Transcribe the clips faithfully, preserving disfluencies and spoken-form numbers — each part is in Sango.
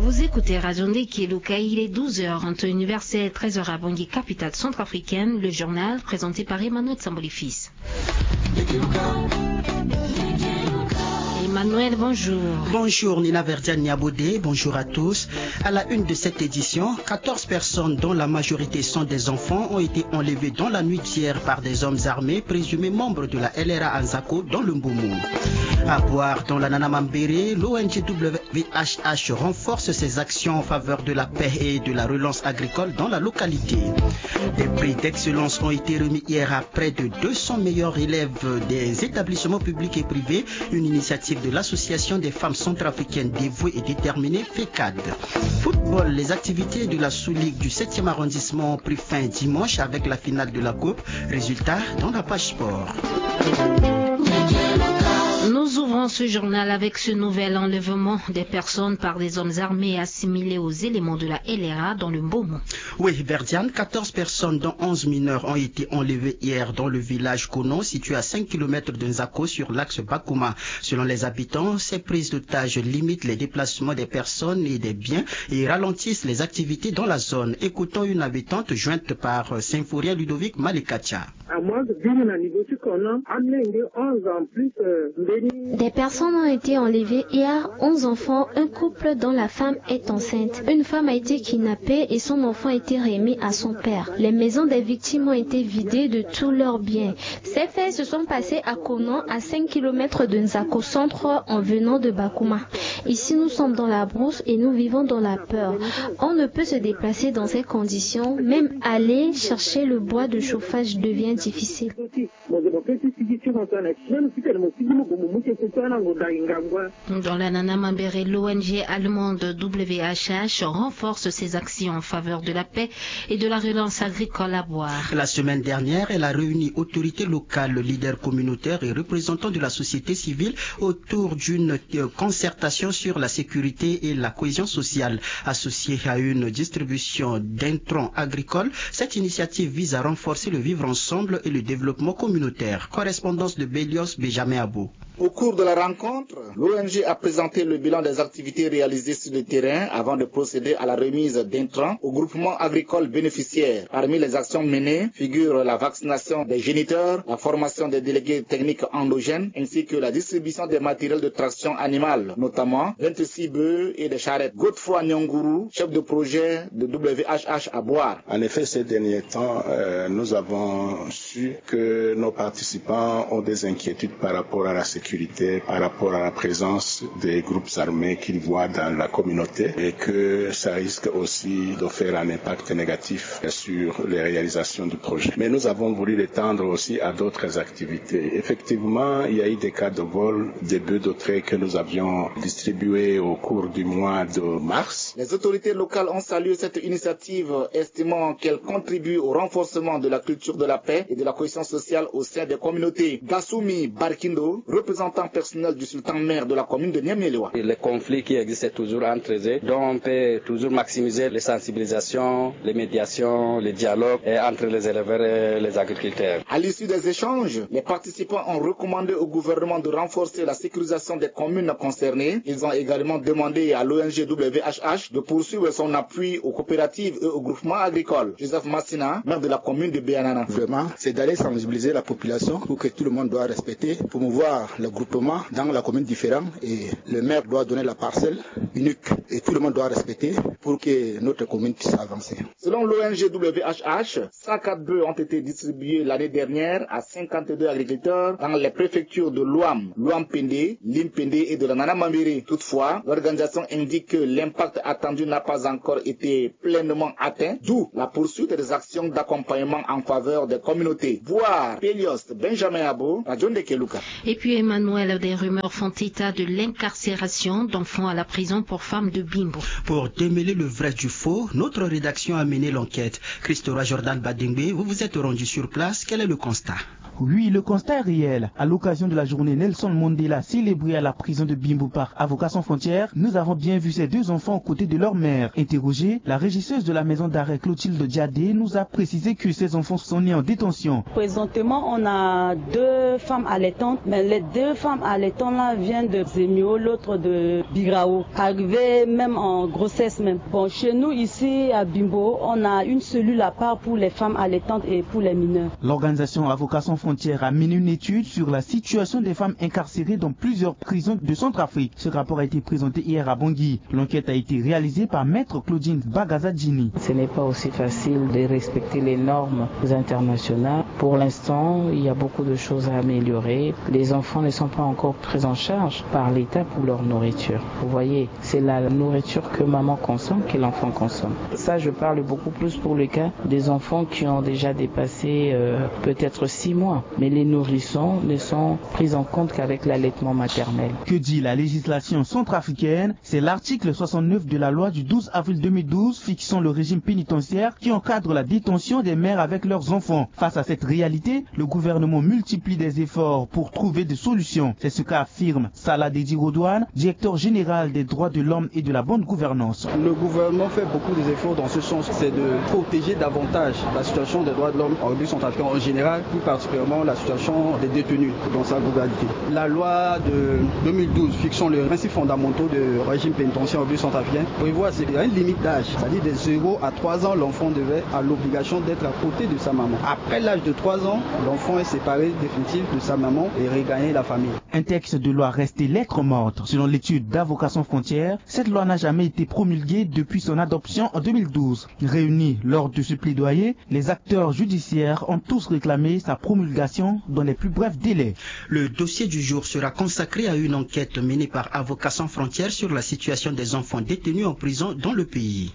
Vous écoutez Radio Ndeke Luka, il est douze heures en temps universel, treize heures à Bangui, capitale centrafricaine. Le journal présenté par Emmanuel Samboli Fils. Emmanuel, bonjour. Bonjour Nina Verdiane Niabodé, bonjour à tous. À la une de cette édition, quatorze personnes dont la majorité sont des enfants ont été enlevées dans la nuit d'hier par des hommes armés présumés membres de la L R A Anzako dans le Mboumou. À Boire, dans la Nana Mambéré, l'O N G W V H H renforce ses actions en faveur de la paix et de la relance agricole dans la localité. Des prix d'excellence ont été remis hier à près de deux cents meilleurs élèves des établissements publics et privés, une initiative de l'Association des femmes centrafricaines dévouées et déterminées, FECAD. Football, les activités de la sous-ligue du septième arrondissement ont pris fin dimanche avec la finale de la Coupe. Résultat dans la page sport. Nous ouvrons ce journal avec ce nouvel enlèvement des personnes par des hommes armés assimilés aux éléments de la L R A dans le Mboumou. Oui, Verdiane, quatorze personnes, dont onze mineurs, ont été enlevées hier dans le village Kono, situé à cinq kilomètres de Nzako, sur l'axe Bakouma. Selon les habitants, ces prises d'otages limitent les déplacements des personnes et des biens et ralentissent les activités dans la zone. Écoutons une habitante jointe par, euh, Symphorien Ludovic Malekacha. Des personnes ont été enlevées hier, onze enfants, un couple dont la femme est enceinte. Une femme a été kidnappée et son enfant a été remis à son père. Les maisons des victimes ont été vidées de tous leurs biens. Ces faits se sont passés à Kono, à cinq kilomètres de Nzako centre, en venant de Bakouma. Ici, nous sommes dans la brousse et nous vivons dans la peur. On ne peut se déplacer dans ces conditions. Même aller chercher le bois de chauffage devient difficile. Dans la Nana Mambéré, l'O N G allemande W H H renforce ses actions en faveur de la paix et de la relance agricole à Boire. La semaine dernière, elle a réuni autorités locales, leaders communautaires et représentants de la société civile autour d'une, euh, concertation sur la sécurité et la cohésion sociale. Associée à une distribution d'intrants agricoles, cette initiative vise à renforcer le vivre ensemble et le développement communautaire. Correspondance de Belios Benjamin Abo. Au cours de la rencontre, l'O N G a présenté le bilan des activités réalisées sur le terrain avant de procéder à la remise d'intrants aux groupements agricoles bénéficiaires. Parmi les actions menées figurent la vaccination des géniteurs, la formation des délégués techniques endogènes, ainsi que la distribution des matériels de traction animale, notamment vingt-six bœufs et des charrettes. Godefroy Nyanguru, chef de projet de W H H à Boire. En effet, ces derniers temps, euh, nous avons su que nos participants ont des inquiétudes par rapport à la sécurité, par rapport à la présence des groupes armés qu'ils voient dans la communauté et que ça risque aussi de faire un impact négatif sur les réalisations du projet. Mais nous avons voulu l'étendre aussi à d'autres activités. Effectivement, il y a eu des cas de vol, des bœufs de trait que nous avions distribués au cours du mois de mars. Les autorités locales ont salué cette initiative, estimant qu'elle contribue au renforcement de la culture de la paix et de la cohésion sociale au sein des communautés. Gassoumi Barkindo, représentant personnel du sultan maire de la commune de Niamey-les-Waes. Les conflits qui existent toujours entre eux, dont on peut toujours maximiser les sensibilisations, les médiations, les dialogues, et entre les éleveurs et les agriculteurs. À l'issue des échanges, les participants ont recommandé au gouvernement de renforcer la sécurisation des communes concernées. Ils ont également demandé à l'O N G W H H de poursuivre son appui aux coopératives et aux groupements agricoles. Joseph Massina, maire de la commune de Beanana. Vraiment, c'est d'aller sensibiliser la population pour que tout le monde doit respecter, promouvoir le groupement dans la commune différente et le maire doit donner la parcelle unique et tout le monde doit respecter pour que notre commune puisse avancer. Selon l'O N G W H H, cent quatre bœufs ont été distribués l'année dernière à cinquante-deux agriculteurs dans les préfectures de Louam, Louam-Pendé, Lim-Pendé et de la Nana Mambéré. Toutefois, l'organisation indique que l'impact attendu n'a pas encore été pleinement atteint, d'où la poursuite des actions d'accompagnement en faveur des communautés. Boire, Pelios Benjamin Abo, Radio Ndeke Luka. Et puis Emmanuel, des rumeurs font état de l'incarcération d'enfants à la prison pour femmes de Bimbo. Pour démêler le vrai du faux, notre rédaction a mené l'enquête. Christora Jordan Badengbe, vous vous êtes rendu sur place. Quel est le constat ? Oui, le constat est réel. À l'occasion de la journée Nelson Mandela célébrée à la prison de Bimbo par Avocats sans frontières, nous avons bien vu ces deux enfants aux côtés de leur mère. Interrogée, la régisseuse de la maison d'arrêt Clotilde Diadé nous a précisé que ces enfants sont nés en détention. Présentement, on a deux femmes allaitantes, mais les deux femmes allaitantes là viennent de Zemio, l'autre de Birao. Arrivées même en grossesse même. Bon, chez nous ici à Bimbo, on a une cellule à part pour les femmes allaitantes et pour les mineurs. L'organisation Avocats sans frontières a mené une étude sur la situation des femmes incarcérées dans plusieurs prisons de Centrafrique. Ce rapport a été présenté hier à Bangui. L'enquête a été réalisée par Maître Claudine Bagazadjini. Ce n'est pas aussi facile de respecter les normes internationales. Pour l'instant, il y a beaucoup de choses à améliorer. Les enfants ne sont pas encore pris en charge par l'État pour leur nourriture. Vous voyez, c'est la nourriture que maman consomme que l'enfant consomme. Ça, je parle beaucoup plus pour le cas des enfants qui ont déjà dépassé, euh, peut-être six mois. Mais les nourrissons ne sont pris en compte qu'avec l'allaitement maternel. Que dit la législation centrafricaine ? C'est l'article soixante-neuf de la loi du douze avril deux mille douze fixant le régime pénitentiaire qui encadre la détention des mères avec leurs enfants. Face à cette réalité, le gouvernement multiplie des efforts pour trouver des solutions. C'est ce qu'a affirme Salah Dedi Rodouane, directeur général des droits de l'homme et de la bonne gouvernance. Le gouvernement fait beaucoup d'efforts dans ce sens, c'est de protéger davantage la situation des droits de l'homme en République centrafricaine en général, plus particulièrement la situation des détenus dans sa globalité. La loi de deux mille douze fixant les principes fondamentaux de régime pénitentiaire en République centrafricaine prévoit, c'est qu'il y a une limite d'âge, c'est-à-dire de zéro à trois ans, l'enfant devait à l'obligation d'être à côté de sa maman. Après l'âge de trois ans, l'enfant est séparé définitif de sa maman et regagner la famille. Un texte de loi resté lettre morte. Selon l'étude d'Avocats sans frontières, cette loi n'a jamais été promulguée depuis son adoption en deux mille douze. Réunis lors de ce plaidoyer, les acteurs judiciaires ont tous réclamé sa promulgation dans les plus brefs délais. Le dossier du jour sera consacré à une enquête menée par Avocats sans frontières sur la situation des enfants détenus en prison dans le pays.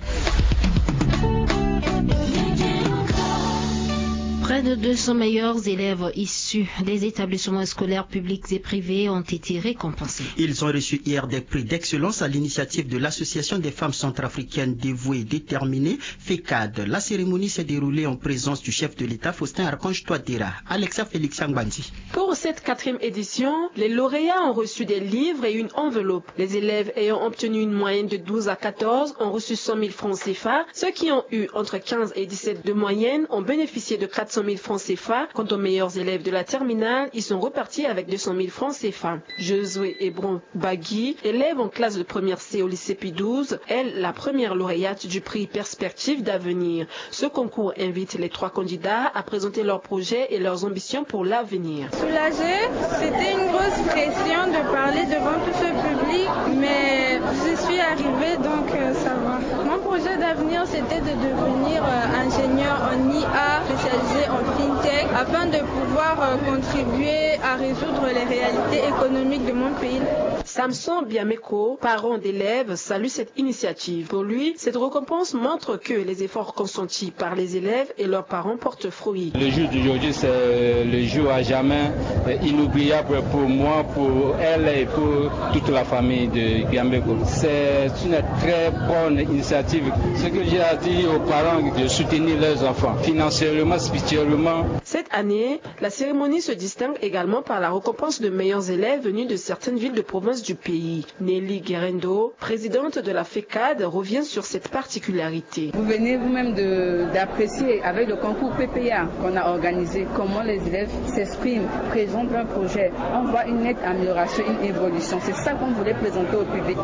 Près de deux cents meilleurs élèves issus des établissements scolaires publics et privés ont été récompensés. Ils ont reçu hier des prix d'excellence à l'initiative de l'Association des femmes centrafricaines dévouées et déterminées, FECAD. La cérémonie s'est déroulée en présence du chef de l'État, Faustin Archange Touadéra. Alexa Félix Angbandi. Pour cette quatrième édition, les lauréats ont reçu des livres et une enveloppe. Les élèves ayant obtenu une moyenne de douze à quatorze ont reçu cent mille francs C F A. Ceux qui ont eu entre quinze et dix-sept de moyenne ont bénéficié de quatre cent mille francs C F A. Quant aux meilleurs élèves de la terminale, ils sont repartis avec deux cent mille francs C F A. Josué Hébron Bagui, élève en classe de première C au lycée Pie douze, est la première lauréate du prix Perspective d'avenir. Ce concours invite les trois candidats à présenter leurs projets et leurs ambitions pour l'avenir. Soulagée, c'était une grosse pression de parler devant tout ce public, mais j'y suis arrivée, donc, euh, ça va. Mon projet d'avenir, c'était de devenir, euh, ingénieur en I A, spécialisé en fintech, afin de pouvoir, euh, contribuer à résoudre les réalités économiques de mon pays. Samson Biameko, parent d'élèves, salue cette initiative. Pour lui, cette récompense montre que les efforts consentis par les élèves et leurs parents portent fruit. Le jour d'aujourd'hui, c'est le jour à jamais, euh, inoubliable pour moi, pour elle et pour toute la famille de Biameko. C'est une très bonne initiative. Ce que j'ai à dire aux parents, de soutenir leurs enfants financièrement, spirituellement. Cette année, la cérémonie se distingue également par la récompense de meilleurs élèves venus de certaines villes de province du pays. Nelly Guerendo, présidente de la FECAD, revient sur cette particularité. Vous venez vous-même de, d'apprécier avec le concours P P A qu'on a organisé comment les élèves s'expriment, présentent un projet. On voit une nette amélioration, une évolution. C'est ça qu'on voulait présenter au public.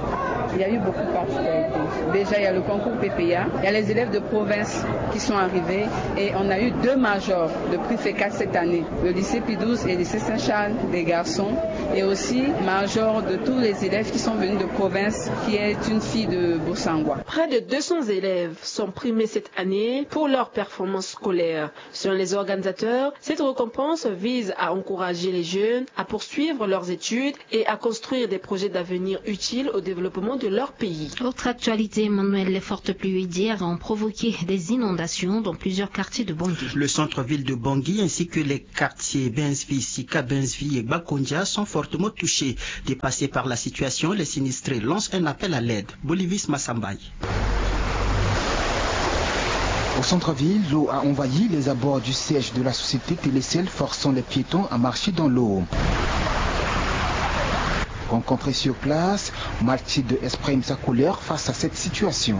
Il y a eu beaucoup de particularités. Déjà, il y a le concours P P A, il y a les élèves de province qui sont arrivés et on a eu deux majors de prix FECAD cette année, le lycée Pie douze et le lycée Saint-Charles des garçons, et aussi major de tous les élèves qui sont venus de province, qui est une fille de Bossangwa. Près de deux cents élèves sont primés cette année pour leur performance scolaire. Selon les organisateurs, cette récompense vise à encourager les jeunes à poursuivre leurs études et à construire des projets d'avenir utiles au développement de leur pays. Autre actualité, Emmanuel, les fortes pluies d'hier ont provoqué des inondations dans plusieurs quartiers de Bangui. Le centre-ville de Bangui ainsi que les quartiers Bensvi, Sika Bensvi et Bakondia sont fortement touchés. Dépassés par la situation, les sinistrés lancent un appel à l'aide. Bolivis Massambay. Au centre-ville, l'eau a envahi les abords du siège de la société Télécel, forçant les piétons à marcher dans l'eau. Rencontré sur place, Mathilde exprime sa colère face à cette situation.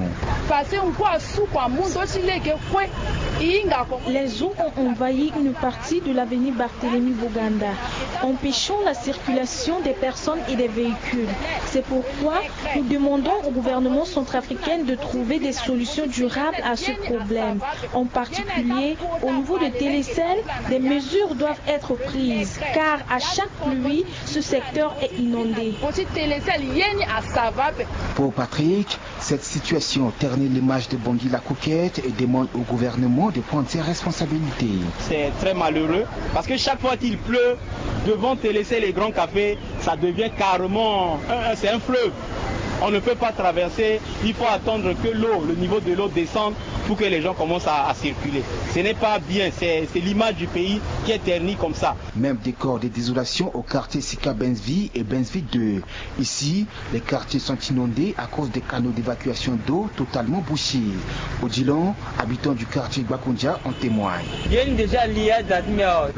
Les eaux ont envahi une partie de l'avenue Barthélemy Boganda, empêchant la circulation des personnes et des véhicules. C'est pourquoi nous demandons au gouvernement centrafricain de trouver des solutions durables à ce problème. En particulier, au niveau de Télécel, des mesures doivent être prises, car à chaque pluie, ce secteur est inondé. Pour Patrick, cette situation ternit l'image de Bangui la Coquette et demande au gouvernement de prendre ses responsabilités. C'est très malheureux parce que chaque fois qu'il pleut, devant Télécel et Grand Café, ça devient carrément un, c'est un fleuve. On ne peut pas traverser, il faut attendre que l'eau, le niveau de l'eau descende pour que les gens commencent à, à circuler. Ce n'est pas bien, c'est l'image du pays qui est ternie comme ça. Même décor de désolation au quartier Sika Bensvi et Bensvi deux. Ici, les quartiers sont inondés à cause des canaux d'évacuation d'eau totalement bouchés. Odilon, habitant du quartier Bakundia, en témoigne.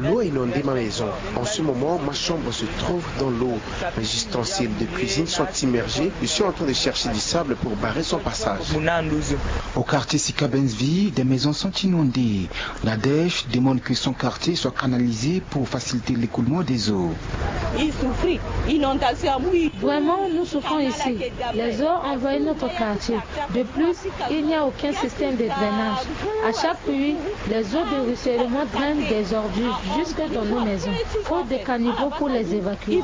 L'eau a inondé ma maison. En ce moment, ma chambre se trouve dans l'eau. Mes ustensiles de cuisine sont immergés. Je suis en train de chercher du sable pour barrer son passage. Au quartier Sika Bensvi, des maisons sont inondées. Nadège demande que son quartier soit canalisé pour faciliter l'écoulement des eaux. Vraiment, nous souffrons ici. Les eaux envahissent notre quartier. De plus, il n'y a aucun système de drainage. À chaque pluie, les eaux de ruissellement drainent des ordures jusque dans nos maisons. Faute de caniveaux pour les évacuer.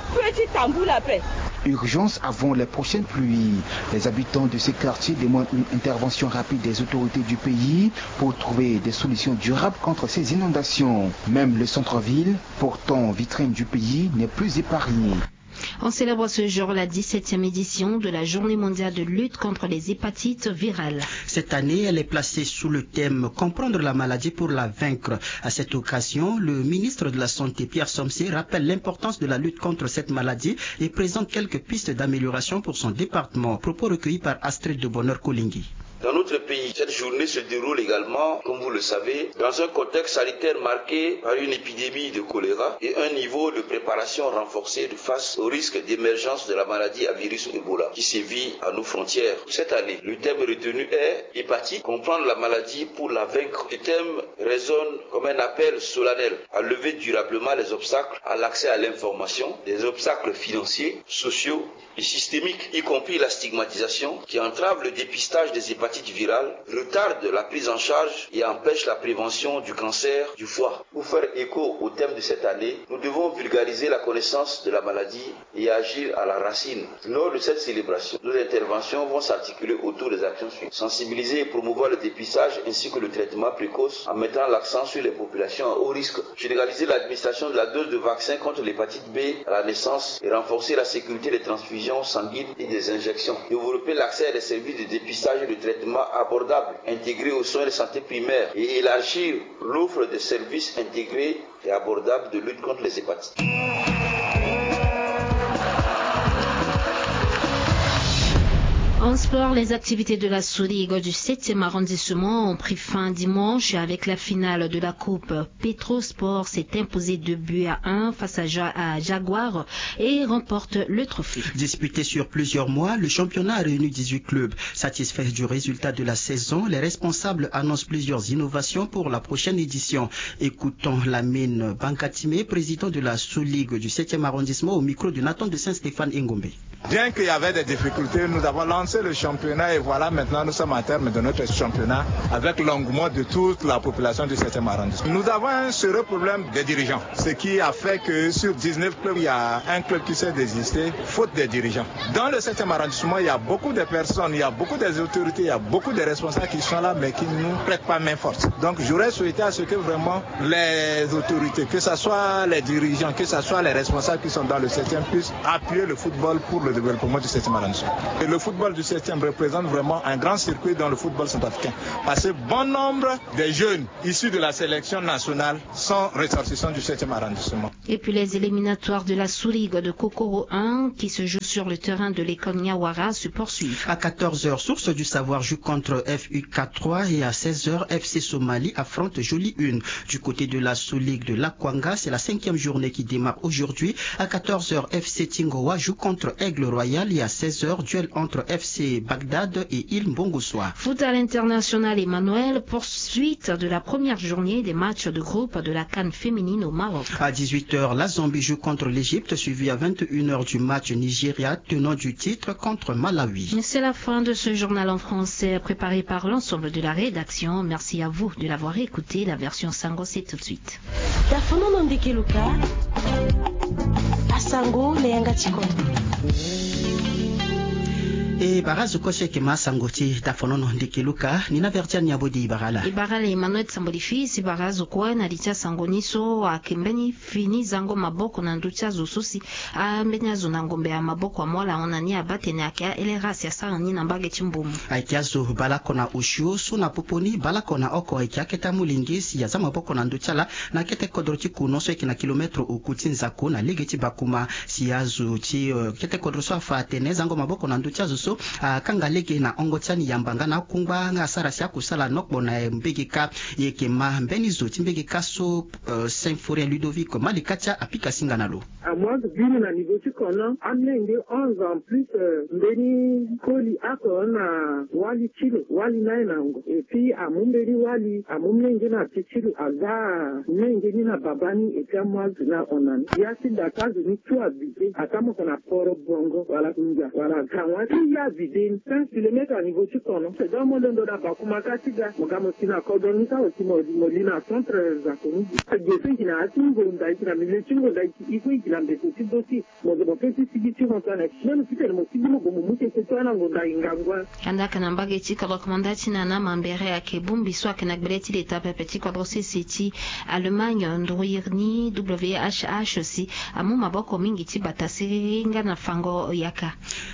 Urgence avant les prochaines pluies. Les habitants de ces quartiers demandent une intervention rapide des autorités du pays pour trouver des solutions durables contre ces inondations. Même le centre-ville, pourtant vitrine du pays, n'est plus épargné. On célèbre ce jour la dix-septième édition de la Journée mondiale de lutte contre les hépatites virales. Cette année, elle est placée sous le thème Comprendre la maladie pour la vaincre. À cette occasion, le ministre de la Santé, Pierre Somsé, rappelle l'importance de la lutte contre cette maladie et présente quelques pistes d'amélioration pour son département. Propos recueillis par Astrid de Bonheur Kolingui. Dans notre pays, cette journée se déroule également, comme vous le savez, dans un contexte sanitaire marqué par une épidémie de choléra et un niveau de préparation renforcé face au risque d'émergence de la maladie à virus Ebola qui sévit à nos frontières. Cette année, le thème retenu est hépatite, comprendre la maladie pour la vaincre. Ce thème résonne comme un appel solennel à lever durablement les obstacles à l'accès à l'information, des obstacles financiers, sociaux et systémiques, y compris la stigmatisation qui entrave le dépistage des hépatites virales, retarde la prise en charge et empêche la prévention du cancer du foie. Pour faire écho au thème de cette année, nous devons vulgariser la connaissance de la maladie et agir à la racine. Lors de cette célébration, nos interventions vont s'articuler autour des actions suivantes. Sensibiliser et promouvoir le dépistage ainsi que le traitement précoce en mettant l'accent sur les populations à haut risque. Généraliser l'administration de la dose de vaccin contre l'hépatite B à la naissance et renforcer la sécurité des transfusions sanguines et des injections. Développer l'accès à des services de dépistage et de traitement abordables, intégrés aux soins de santé primaire et élargir l'offre de services intégrés et abordables de lutte contre les hépatites. En sport, les activités de la Sous-Ligue du septième arrondissement ont pris fin dimanche avec la finale de la Coupe. Petro Sport s'est imposé deux buts à un face à, Ja- à Jaguar et remporte le trophée. Disputé sur plusieurs mois, le championnat a réuni dix-huit clubs. Satisfaits du résultat de la saison, les responsables annoncent plusieurs innovations pour la prochaine édition. Écoutons Lamine Bankatime, président de la Sous-Ligue du septième arrondissement, au micro de Nathan de Saint-Stéphane Engombe. Bien qu'il y avait des difficultés, nous avons lancé le championnat et voilà, maintenant nous sommes à terme de notre championnat avec l'engouement de toute la population du septième arrondissement. Nous avons un sérieux problème des dirigeants, ce qui a fait que sur dix-neuf clubs, il y a un club qui s'est désisté, faute des dirigeants. Dans le septième arrondissement, il y a beaucoup de personnes, il y a beaucoup des autorités, il y a beaucoup de responsables qui sont là, mais qui ne nous prêtent pas main forte. Donc j'aurais souhaité à ce que vraiment les autorités, que ce soit les dirigeants, que ce soit les responsables qui sont dans le septième, puissent appuyer le football pour le Le développement du septième arrondissement. Et le football du septième représente vraiment un grand circuit dans le football centrafricain. Parce que bon nombre des jeunes issus de la sélection nationale sont ressortissants du septième arrondissement. Et puis les éliminatoires de la sous-ligue de Kokoro un qui se joue sur le terrain de l'école Niawara se poursuivent. À quatorze heures, Source du Savoir joue contre F U quatre trois et à seize heures, F C Somali affronte Jolie Une. Du côté de la sous-ligue de l'Akwanga, c'est la cinquième journée qui démarre aujourd'hui. À quatorze heures, F C Tingowa joue contre Aigle Royal et à seize heures, duel entre F C Bagdad et Île Mbongosoa. Foot à l'international, Emmanuel, poursuite de la première journée des matchs de groupe de la CAN féminine au Maroc. À dix-huit heures, la Zambie joue contre l'Égypte, suivi à vingt et une heures du match Nigeria, tenant du titre, contre Malawi. C'est la fin de ce journal en français préparé par l'ensemble de la rédaction. Merci à vous de l'avoir écouté. La version Sango, c'est tout de suite. Dafonono ndeke luka, asango na yanga tikono. E bara zo kue so eke ma asango ti dafonono ndeke luka, ni na vertiani abodi bara ala. E bara ala Emmanuel Samboli fils, e bara zo kue na li ti asango ni so ayeke mbeni fini zango maboko na ndö ti azo so si ambeni azo na ngombe ya maboko amu ala ahon na ni abaa tene ayeke a-L R A si asara ni na mbage ti Mbomou. Ayeke azo bale oko na osio so na popo ni bale oko na oko ayeke akete amolenge si aza maboko na ndö ti ala na kete kodro ti Kounon so ayeke na kilomètre oku ti Nzako na lege ti Bakouma. Si azo ti, euh, kete kodro so afa atene zango maboko na ndö ti azo so akanga lege na hongo ti ani yamba nga na akungba nga asara si akusala nokpo na mbege kâ. E yeke ma mbeni zo ti mbege kâ so, euh, Symphorien Ludovic Malikatia apika singa na lo. Amu azo biri na niveau ti kono, amolenge onze ans plus, euh, mbeni koli oko na wali ti lo, wali na ye na ngo. Et puis amu mbeni wali, amu molenge na ti ti lo, aga molenge ni na baba ni, et puis amu azo ni ahon na ni. Ya ti da ti azo ni tout abité, atamoko na Poro Bongo, wala Ndia, wala Gawa. Ti ya vide ni cinq kilomètres à niveau ti kono. C'est donc mo londo na Bakouma kâ ti ga, mo ga mo si na kodro ni kâ aussi mo, mo li na centre Nzako ni. Ge so e gi na ya ti ngonda, e gi na milieu ti ngonda, e gi na mbeko ti do ti. Mo zo mo pe ti sigi ti hon so ane. Même titene mo sigi mo gue mo mu tete so ana ngonda e ngangu. Andaa ka na mbage ti kodro, komanda ti nana mambere ayeke bongbi so ayeke na gbele ti leta pepe ti kodro sese ti Allemagne, nduru iri ni W H H si amu maboko mingi ti bata siriri nga na fango yaka.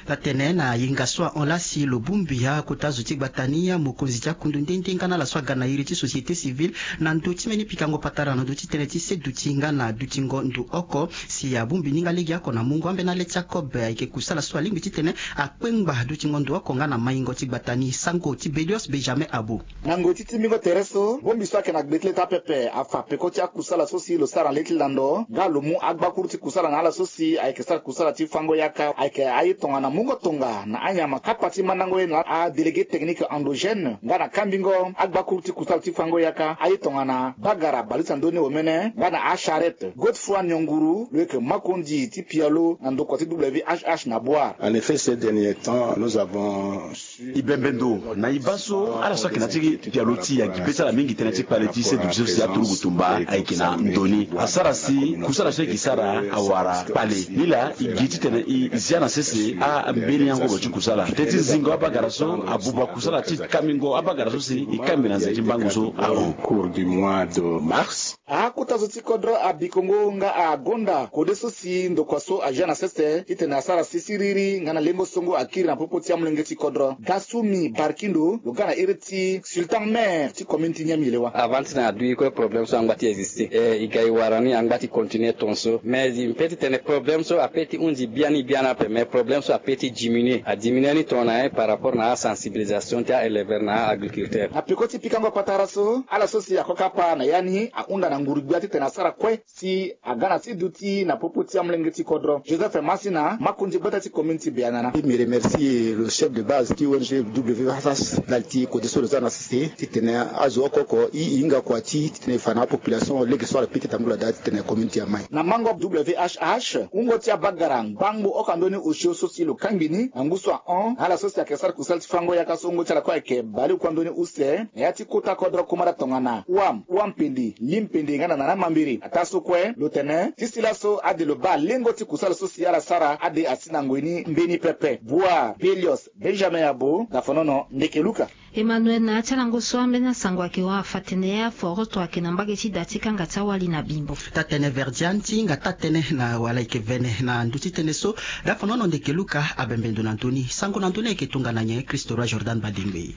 Atene na yenga so ahon laa si lo bongbi akota zo ti gbata ni, amokonzi ti akundu nde nde nga na ala so aga na iri ti société civile na ndö ti mbeni pikango patara na ndö ti tënë ti seduti nga na dutingo ndo oko. Si abongbi ni nga legeoko na mungo ambeni ale ti akobe ayeke kusala so alingbi titene akpengba dutingo ndo oko nga na maingo ti gbata ni. Sango ti Belios Benjamin Abo. Na ngoi ti timbingo tere so, bongbi so ayeke na gbe ti leta pepe afa peko ti akusala so si lo sara na le ti lando nga lo mu agbakuru ti kusala na ala so si ayeke sara kusala ti fango yaka, ayeke aye tongana mungo tonga na anyama kapa ti mandango ye na adélégué technique endogène nga na kambingo agbakuru ti kusala ti fango yaka, aye tongana bagara baleuse na ndö ni omene nga na acharrette. Godefroid Nionguru lo yeke makonzi ti pialo na ndokua ti W H H na Boire. En effet, ces derniers temps, nous avons su... E bembe ndo na e baa so ala so ayeke na ya ti pialo ti e agi be ti ala mingi tënë ti kpale ti seduti so si aturugu tumba ayeke na ndo ni. Asara si kusala so e yeke sara awara kpale. Nilaa e gi titene e zia na sese ambeni angoro ti kusala. Teti zingo abagara so abuba kusala ti kambingo abagara so si e kambi na nze ti mbangu so ahon. Au cours du mois de mars. Akota zo ti kodro abikongo nga agonda kode so si ndokua so azia na sese titene asara si siriri nga na lengo songo akiri na popo ti amolenge ti kodro. Gasumi Barkindo lo ga na iri ti Sultan, maire ti commune ti Niamey Lewa. Avant titene adui kue problème so angba ti existe, e, e ga e wara ni angba ti continuer tongaso. Mais e peut ti tene problème so apeut ti hunzi biani biani ape, mais problème so apeut ti diminuer. Adiminuer ni tongana nyen? Par rapport na asensibilisation ti a-éleveur na a-agriculteur. Na peko ti pikango patara so, ala so si akokapa na ya ni ahunda na nguru-gbia titene asara kue si aga na ti duti na popo ti amolenge ti kodro. Joseph Masina, makonzi gbata ti commune ti Beanana. E, mbi remercie le chef de base ti O N G W H H ndali ti kode so lo za na sese titene azo oko oko e, e hinga kua ti titene e fa na apopulation lege so ala pika tambula daa titene commune ti e amai. Na mango W H H, wungo ti abagara ngbangbo oko na ndö ni osio so si lo kangbi ni na ngu so ahon na ala so si ayeke sara kusala ti fango yaka so wungo ti ala kue ayeke baleoko na ndö ni use na ya ti kota kodro kumara tongana Ouam, Ouampende, Limpe de nga na nana mambiri. Ataa so kue lo tene ti si laso ade lo baa lengo ti kusala so si ala sara ade asi na ngoi ni mbeni pepe. Bua Belios Benjamin Yabo, Dafonono, Ndeke Luka. Emmanuel, na ya ti alango so ambeni asango ayeke hon afa atene aforoto ayeke na mbage ti da ti kanga ti awali na Bimbo. Taa-tënë Verdiane ti hinga taa-tënë na wala ayeke vene na ndö ti tënë so. Dafonono, Ndeke Luka abembe ndo na ndö ni. Sango na ndö ni ayeke tongana nyen? Christo Roi Jordan Badengbe.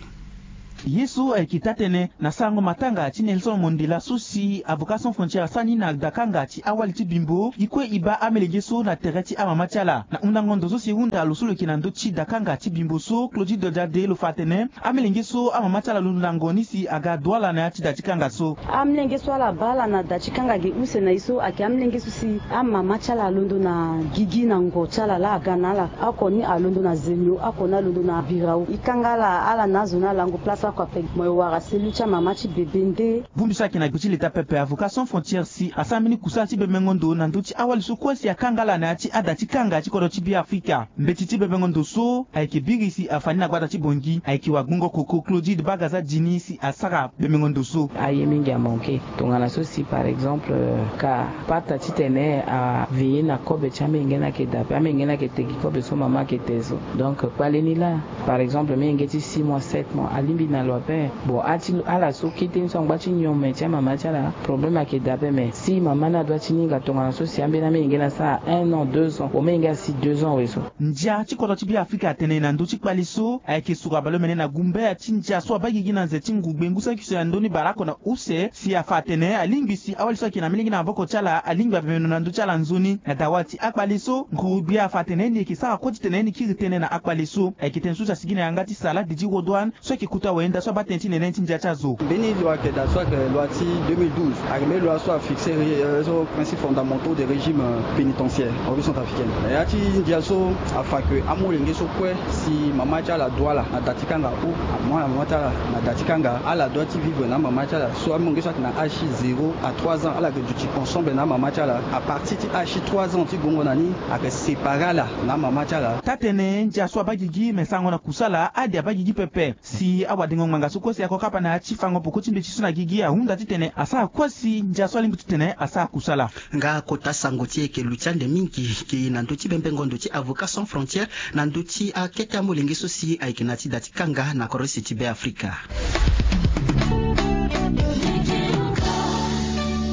Ye so ayeke taa-tënë na sarango matanga ti Nelson Mandela so si Avocats Sans Frontières asara ni na dakanga ti awali ti Bimbo, e kue e baa amelenge so na tere ti amama ti ala. Na hundango ndo so si e hunda lo so lo yeke na ndö ti dakanga ti Bimbo so, Claudie Dodjade, lo fa atene amelenge so amama ti ala alondo na ngo ni si aga Douala na ya ti da ti kanga so. Amelenge so ala baa ala na da ti kanga ge use na e so ayeke amelenge so si amama ti ala alondo na gigi na ngo ti ala laa aga na ala. Oko ni alondo na Zemio, oko ni alondo na Birao. E kanga ala, ala na azo ni alango place oko ape. Mo e wara selu ti amama ti bebe nde. Bongbi so ayeke na gbe ti leta pepe, Avocats Sans Frontières si asara mbeni kusala ti bembengo ndo na ndö ti awali so kue si akanga ala na ya ti ada ti kanga ti kodro ti Beafrika. Mbeti ti bembengo ndo so ayeke biri si afa ni na gbata ti Bangui ayeke wagbongo koko Claudide Bagaza Dini si asara bembengo ndo so. Aye mingi amanke. Tongana so si, par exemple, euh, ka pata titene aveiller na kobe ti amenge ni ayeke daa ape, amenge ni ayeke te gi kobe so mama ayeke te so. Donc kpale ni laa, par exemple, menge ti six mois, sept mois, alingbi na lo ape. Bon, a ti ala so kete ni so angba ti nyome ti amama ti ala, problème ayeke daa ape. Mais si mama ni adoit ti ni hinga tongana so si ambeni amenge ni asara un an, deux ans, bon, menge asi deux ans awe so. Ndia ti kodro ti Beafrika atene na ndö ti kpale so ayeke suru abale omene na gumbe ya ti ndia so abaa gigi na nze ti nguru gbengu saki so ya ndö ni baleoko na use si afa atene alingbi si awali so ayeke na melenge na maboko ti ala alingbi abemeno na ndö ti ala nzoni. Na dawa ti akpale so, nguru gbe afa atene ni yeke sara kue titene ni kiri tënë na akpale so. Ayeke tënë so si asigi na yanga ti Salah Didi Rodouane so ayeke kuta wayenda so abaa tënë ti nene ni ti ndia ti azo. Mbeni loi ayeke daa so ayeke loi ti deux mille douze, ayeke mbeni loi so afixe, euh, so principes fondamentaux des régimes, euh, pénitentiaires en République centrafricaine. Na ya ti ndia so afa ke amolenge so kue si mama ti ala adoit ala na da ti kanga ou amama ti ala na da ti kanga, ala doit ti vivre na amama ti ala. So amolenge so ayeke na âge ti zéro à trois ans, ala yeke duti ensemble na amama ti ala. À partir ti âge ti trois ans ti gongo na ni, ayeke séparer ala na amama ti ala. Taa-tënë, ndia so abaa gigi me sarango na kusala ade abaa gigi pepe. Si awadengo ngbanga so kue si ako kapa na ya ti fango poko ti mbeti so na gigi ahunda titene asara kue si ndia so alingbi titene asara kusala. Nga kota sango ti e yeke lu ti ande mingi, e ke na ndö ti bembengo ndo ti Avocats Sans Frontières na ndö ti akete amolenge so si ayeke na ti da ti kanga na kodro use ti Beafrika.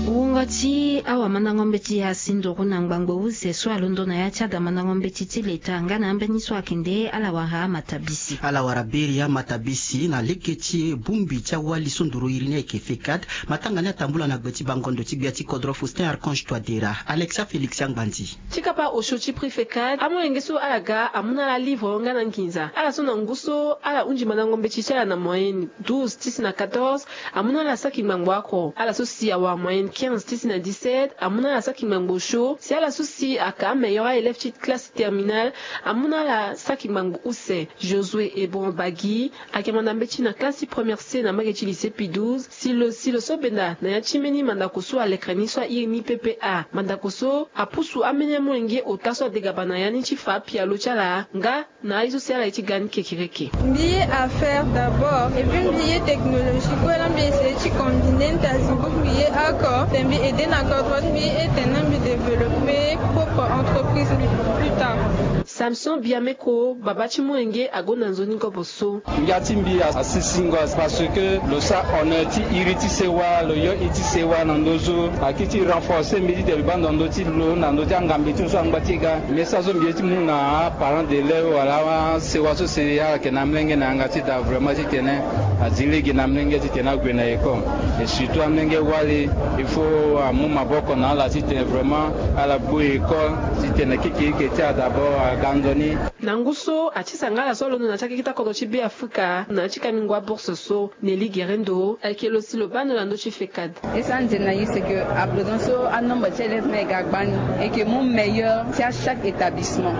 Wungo ti awamandango mbeti asi nduru na ngbangbo use so alondo na ya ti ada mandango mbeti ti leta nga na ambeni so akende ala wara amatabisi. Ala wara beri amatabisi na lege ti bongbi ti awali so nduru iri ni ayeke FECAD. Matanga ni atambula na gbe ti bango ndo ti gbia ti kodro Faustin Archange Touadéra. Alexia Félix Angbandi. Ti kapa osio ti prix FECAD, amolenge so ala ga amu na ala livre nga na nginza. Ala so na ngu so ala hunzi mandango mbeti ti ala na moyenne douze ti si na quatorze, amu na ala saki ngbangbo oko. Ala so si awara moyenne quinze ti si na dix-sept, amu na ala saki ngbangbo osio. Si ala so si aka ameilleur aélève ti classe terminale, amu na ala saki ngbangbo use. Josué Ebon Bagi ayeke manda mbeti na classe ti première C na mbage ti lycée Pie douze. Si lo, si lo so benda na ya ti mbeni mandako so alekere ni so airi ni P P A. Mandako so apusu ambeni amolenge ota so adegaba na ya ni ti fa apialo ti ala nga na aye so si ala ye ti ga ni kekereke. Mbi ye affaire d'abord, et puis mbi ye technologie kue la, mbi essayer ti combiner ntazi, mbi ye oko, te mbi aider na kodro, mbi ye ete na mbi développer propre entreprise mbi plus tard. Samson Biameko, baba ti molenge, agonda nzoni kopo so. Ngia ti mbi a, asi singo, parce que lo sara honneur ti iri ti sewa, lo yo iri ti sewa na ndö so, aki ti renforcer mbi titene mbi baa ndo na ndö ti lo, na ndö ti angambe ti lo so angba ti ga. Message so mbi ye ti mu na aparent d'élève wala asewa so si ala yeke na amolenge na yanga ti da vraiment titene azi lege na amolenge titene ague na école. Et surtout amolenge wali, il faut amu maboko na ala titene vraiment ala gbu école titene kekereke ti ala d'abord aga nzoni. Na ngu so, ati sangala so alondo na ti akeke ti akodro ti Beafrika na ya ti kamingo abourse so. Nelly Guerendo ayeke lo si lo baa ndo na ndö ti FECAD. E sara nze na ye, c'est que à présent so anombre ti élève ni ayeke ga gbani, e yeke mu meilleur ti achaque établissement.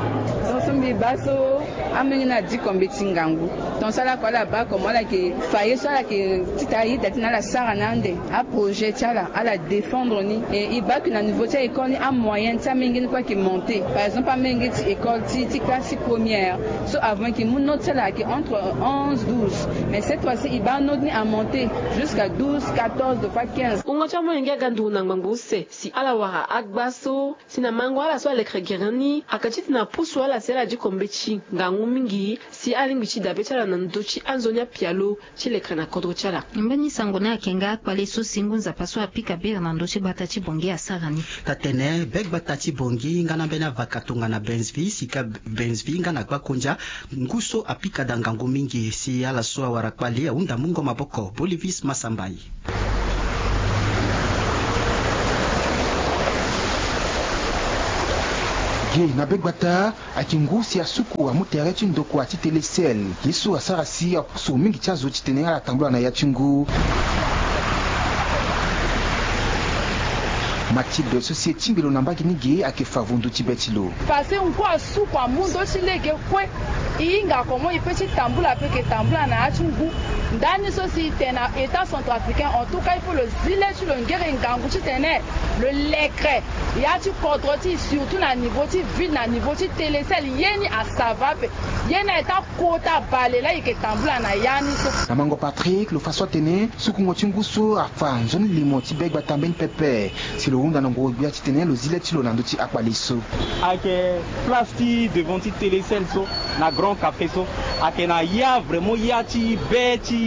Donc so mbi baa so Amolenge ni adi kombe ti ngangu. Ton so ala ko ala baa komo ala yeke fa ye so ala yeke tita ayeda ti na ala sara na ande aprojet ti ala ala défendre ni. E e baa ke na niveau ti a-école ni amoyen ti amolenge ni kue ayeke monter. Par exemple amolenge ti école ti ti classe ti première so avant yeke mu note ti ala ayeke entre onze douze. Mais cette fois-ci e baa note ni amonter jusqu'à douze, quatorze, de fois quinze. Wungo ti amolenge aga nduru na ngbangbo use si ala wara agba so si na mango ala so alekere gere ni ayeke titene apusu ala si ala di kombe ti ngangu mingi si alingbi ti dabe ti ala na ndö ti anzoni apialo ti lekere na kodro ti ala. Mbeni sango ni ayeke nga akpale so si ngu nzapa so apika bere na ndö ti gbata ti Bangui asara ni. Tatene be gbata ti Bangui nga na mbeni avaka tongana Benzvi sika Benzvi nga na Gbakondia ngu so apika daa ngangu mingi si ala so awara kpale ahunda mungo maboko. Bolivis Masambai. Ge na be gbata ayeke ngu si asuku amu tere ti ndokua ti Telecel ye so asara si apusu mingi ti azo titene ala tambula na ya ti ngu. Mathilde so si e tingbi lo na mbage ni ge ayeke fa vundu ti be ti lo. Parce que ngu asuku amu ndö ti lege kue. E hinga comment e peut ti tambula ape ke tambula na ya ti ngu. Ndani so si e tene na État centrafricain, en tout cas il faut lo zi le ti lo ngere ngangu titene lo lekere ya ti kodro ti e, surtout na niveau ti ville, na niveau ti Telecel, ye ni asava ape. Ye ni aye ti akota bale laa e yeke tambula na ya ni so. Na mango Patrick lo fa so atene sukungo ti ngu so afa nzoni limo ti be gbata mbeni pepe. Si lo hunda na ngoro-gbia titene lo zi le ti lo na ndö ti akpale so. Ayeke place ti devant ti Telecel so, na Grand Café so, ayeke na ya vraiment ya ti be ti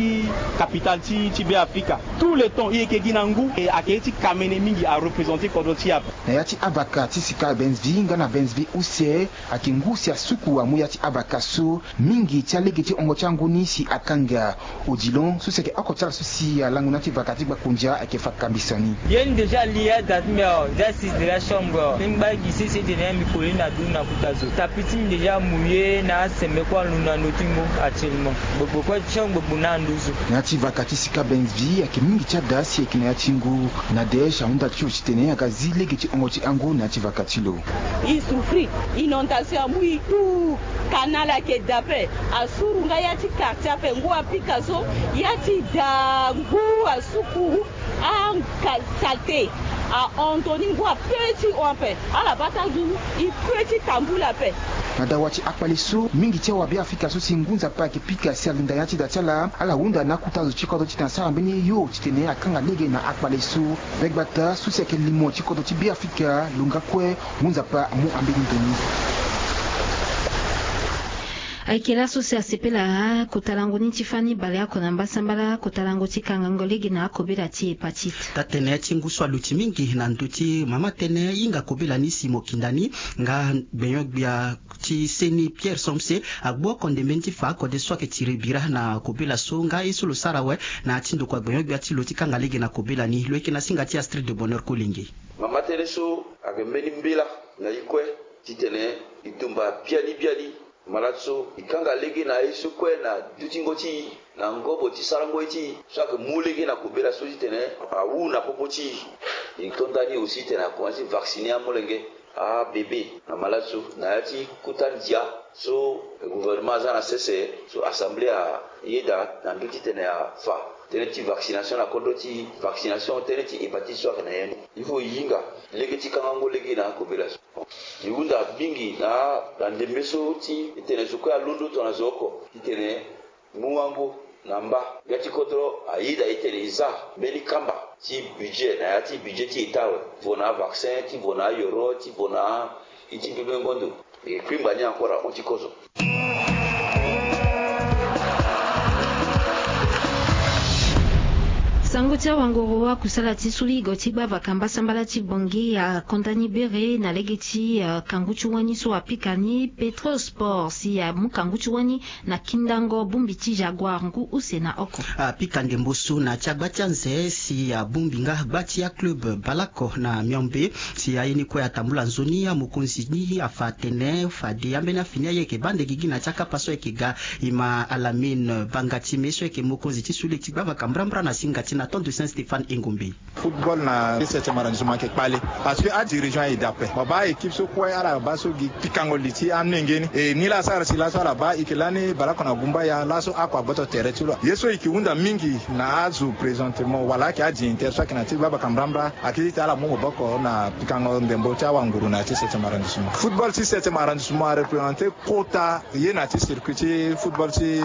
capitale ti ti Be Afrika. Tout le temps e yeke gi na ngu e ayeke ye ti kamene mingi, arepresente kodro ti e ape. Na ya ti avaka ti sika Benzvi nga na Benzvi use ayeke ngu si asuku amu ya ti avaka so. Mingi ti alege ti hongo ti angu ni si akanga. Odilon so si ayeke oko ti ala so si alango na ya ti vaka ti Gbakondia ayeke fa kambisa ni. Ye ni déjà li ya da ti mbi awe, déjà si déjà chambre awe. Ti ngba gi sese tene ya mbi koli na du na kuta zo. Tapi ti mbi déjà mouillé na aseme kue anu na ndö ti ngu actuellement. Gbogbo kue ti chambre gbogbo na anduzu. Na ya ti vaka ti sika Benzvi ayeke mingi ti ada si ayeke na ya ti ngu. Nadège ahunda ti lo titene aga zi lege ti hongo ti angu na ya ti vaka ti lo. E souffrir, inondation amu e tout. Canal ayeke da ape, asuru nga ya ti quartier ape, ngu apika so, ya ti da ngu asuku, a, ka, saleté ahon toni, ngu ape ti hon ape, ala baa ti azo e pe ti tambula ape. Na dawa ti akpale so, mingi ti awabe afrika so si ngu nzapa ayeke pika si alinda ya ti da ti ala, ala hunda na akota zo ti kodro titene asara mbeni yo titene akanga lege na akpale so. Be gbata so si ayeke limo ti kodro ti Be Afrika lo nga kue. Ngu nzapa amu ambeni ndo ni. Ayeke laso si asepela kota lango ni ti fani baleoko na mbasambala, kota lango ti kangango lege na akobela ti hépatite. Taa-tënë ti ngu so aluti mingi na ndö ti mama tënë hinga kobela ni si mo kinda ni nga gbenyo-gbia ti seni Pierre Somse agbu oko ndembe ni ti fa akode so ayeke tiri bira na kobela so nga ye so lo sara awe na ya ti ndokua gbenyo-gbia ti lo ti kanga lege na kobela ni. Lo yeke na singa ti Astrid de Bonheur Kolenge. Mama tënë so ayeke mbeni mbela na e kue titene e tumba biani biani malade so, e kanga lege na ye so kue na dutingo ti e, na ngobo ti sarango ye ti e so ayeke mu lege na kobela so titene awu na popo ti e. E to ndani aussi titene akomanse ti vacciner amolenge, abebe na malade so na ya ti kota ndia so gouvernement aza na sese so assemblée ayeda na ndö titene afa tënë ti vaccination na kodro ti vaccination tënë ti hépatite so ayeke na ya ni. Il faut e hinga lege ti kangango lege na akobela so. E hunda mingi na, na ndembe so ti e tene zo kue alondo tongana zo oko titene mu wango na mba. Gbia ti kodro ayeda e tene e za mbeni kamba ti budget na ya ti budget ti état awe, ti vo na avaccin, ti vo na ayoro, ti vo na iti mbembe ngondo. E kpingba ni encore ahon ti kozo. Sango ti awangoro akusala ti suli go ti gbavaka mbasambala ti Bangui akonda ni bere na lege ti, eh, kangu ti wani so apika ni Petro Sport si amu kangu ti wani na kindango bongbi ti Jaguar ngu use na oko. Apika ndembo so na ti agba ti anze si abongbi nga gba ti aclub Balako na Miombe si aye ni kue atambula nzoni amokonzi ni afa atene fade ambeni afini aye ayeke baa nde gigi na ti akapa so ayeke ga. E ma Alamine Banga Time so ayeke mokonzi ti suli ti gbavaka mbrambra na singa ti na Ton de Saint Stéphane Engombe. Football na septième arrondissement ayeke kpale, parce que adirigeant aye dape, mo baa équipe so kue ala baa so gi pikango li ti amenge ni. E nilaa asara si laso ala baa eke lani baleoko na gumbaya laso ako agboto tere ti lo. Ye so eke hunda mingi na azo présentement wala ayeke adignitaire so ayeke na ti gbagba kambrambra, ayeke ti tene ala mu maboko na pikango ndembo ti awanguru na ya ti septième arrondissement. Football ti septième arrondissement areprésente kota ye na ti circuit ti football ti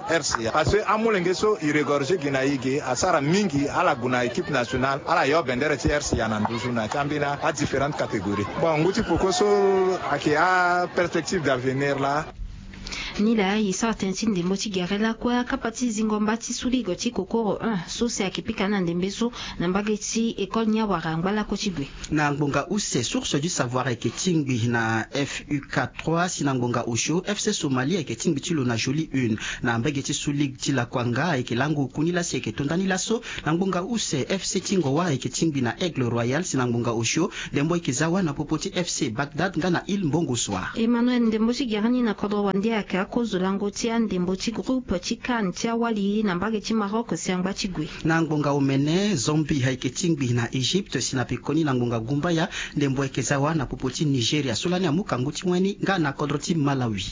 R C A, parce que amolenge so e regorge gi na e ge asara mingi, ala gue na équipe nationale, ala yo bendere ti R C A na nduzu na ya ti ambeni adifférentes catégories. Bon, ngu ti poko so ayeke aperspective d'avenir laa. Ni laa e sara tënë ti ndembo ti gere lakue akapa ti zingo mba ti suligo ti kokoro un so si ayeke pika na ndembe so na mbage ti école ni awara angba lakue ti gue. Na ngbonga use, Source du Savoir ayeke tingbi na F U K trois, si na ngbonga osio, F C Somalie ayeke tingbi ti lo na Jolie Une. Na mbage ti suligo ti lakuanga ayeke lango oku ni laa si ayeke to ndani laso. Na ngbonga use, F C Tingoa ayeke tingbi na Aigle Royal, si na ngbonga osio, ndembo ayeke za wâ na popo ti F C Bagdad nga na Île Mbongo Soir. Emmanuel, ndembo ti gere ni na kodro wande ayeke akozo lango ti andembo ti groupe ti CAN ti awali na mbage ti Maroc si angba ti gue. Na ngbonga omene, Zambie ayeke tingbi na Égypte, si na pekoni na ngbonga gumbaya ndembo ayeke za wâ na popo ti Nigeria so lani amu kangu ti wani nga na kodro ti Malawi.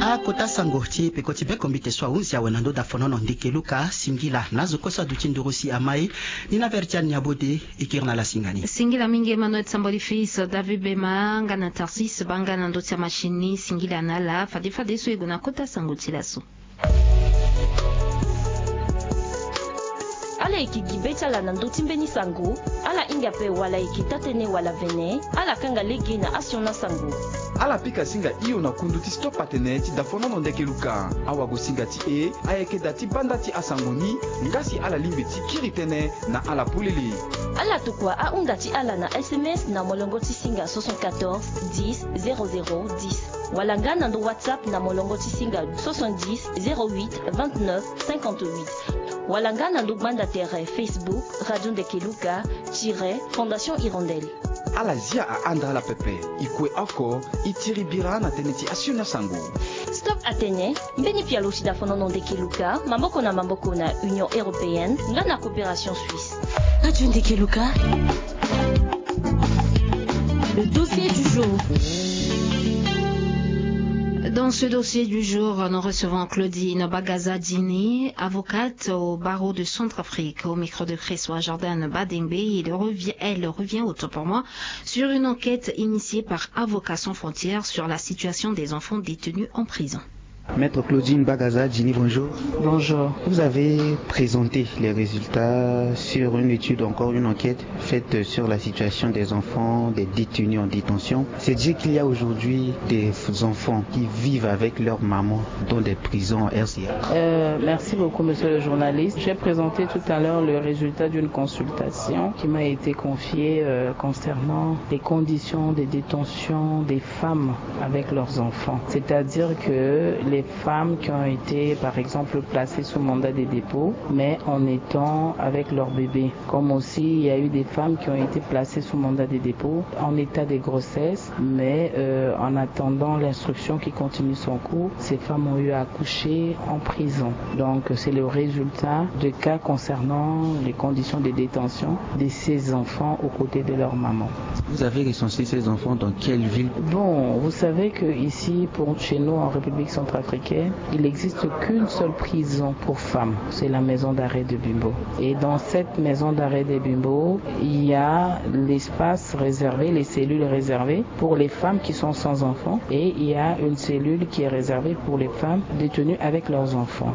Akota sango ti peko ti bekombite so ahunzi awe na ndö dafonono ndeke Luka. Singila na azo kue so aduti nduru si ama e. Ni na Vertiane Nyabode, e kiri na ala singa ni. Singila mingi Emmanuel Samboli Fils, David Bema nga na Tarsis Banga na ndö ti amachine ni. Singila na ala fade fade so e gue na kota sango ti laso. Ala yeke gi be ti ala na ndö ti mbeni sango. Ala hinga ape wala e yeke taa-tënë wala vene, ala kanga lege na asioni asango. Ala pika singa hio na kundu ti Stop Atene ti dafonono ndeke Luka. Awagosinga ti e ayeke da ti banda ti asango ni, nga si ala lingbi ti kiri tënë na ala polele. Ala tokua ahunda ti ala na S M S na molongo ti singa soixante-quatorze dix zéro zéro dix, wala nga na ndo WhatsApp na molongo ti singa soixante-dix zéro huit vingt-neuf cinquante-huit, wala nga na ndo gbanda tere Facebook Radio Ndeke Luka tiret Fondation Hirondelle. Ala zia ahanda ala pepe. E kue oko, e tiri bira na tënë ti asioni asango. Stop Atene, mbeni pialo ti dafonono ndeke Luka, maboko na maboko na Union Européenne nga na Coopération Suisse. Radio Ndeke Luka. Le dossier du jour. Dans ce dossier du jour, nous recevons Claudine Bagaza Dini, avocate au barreau de Centrafrique, au micro de Christois Jordan Badengbe. Il revient, elle revient, autant pour moi, sur une enquête initiée par Avocats sans frontières sur la situation des enfants détenus en prison. Maître Claudine Bagaza Dini, bonjour. Bonjour. Vous avez présenté les résultats sur une étude, encore une enquête faite sur la situation des enfants, des détenus en détention. C'est dire qu'il y a aujourd'hui des enfants qui vivent avec leur maman dans des prisons en R C A. Euh, merci beaucoup, monsieur le journaliste. J'ai présenté tout à l'heure le résultat d'une consultation qui m'a été confiée, euh, concernant les conditions de détention des femmes avec leurs enfants. C'est-à-dire que les femmes qui ont été, par exemple, placées sous mandat de dépôt, mais en étant avec leur bébé. Comme aussi, il y a eu des femmes qui ont été placées sous mandat de dépôt en état de grossesse, mais, euh, en attendant l'instruction qui continue son cours, ces femmes ont eu à accoucher en prison. Donc, c'est le résultat de cas concernant les conditions de détention de ces enfants aux côtés de leur maman. Vous avez recensé ces enfants dans quelle ville ? Bon, vous savez que ici, pour, chez nous, en République centrafricaine, il n'existe qu'une seule prison pour femmes. C'est la maison d'arrêt de Bimbo. Et dans cette maison d'arrêt de Bimbo, il y a l'espace réservé, les cellules réservées pour les femmes qui sont sans enfants et il y a une cellule qui est réservée pour les femmes détenues avec leurs enfants.